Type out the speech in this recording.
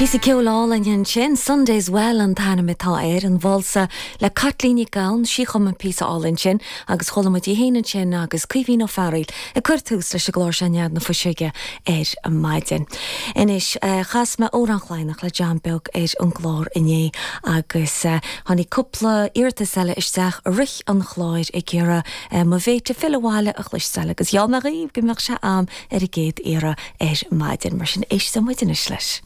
Píosa ceoil álainn ansin, Sunday's Well an t-ainm atá air, an válsa le Caitlín Nic Gabhann, sí a chum an píosa álainn sin agus chuala muid í féin ansin agus Caoimhín Ó Fearghaíl ag cur tús leis an gclár seo Nead na Fuiseoige ar maidin. Anois, chas mé Amhrán Laighneach le John Beag ar an gclár inné agus tháinig cúpla iarratas eile isteach i rith an chláir ag iarraidh Mo Bhéite Fill Abhaile a chloisteáil agus gheall mé dhaoibh go mbeadh sé a'm ar an gcéad iarraidh ar maidin. Mar sin, éisteoidh muid anois leis.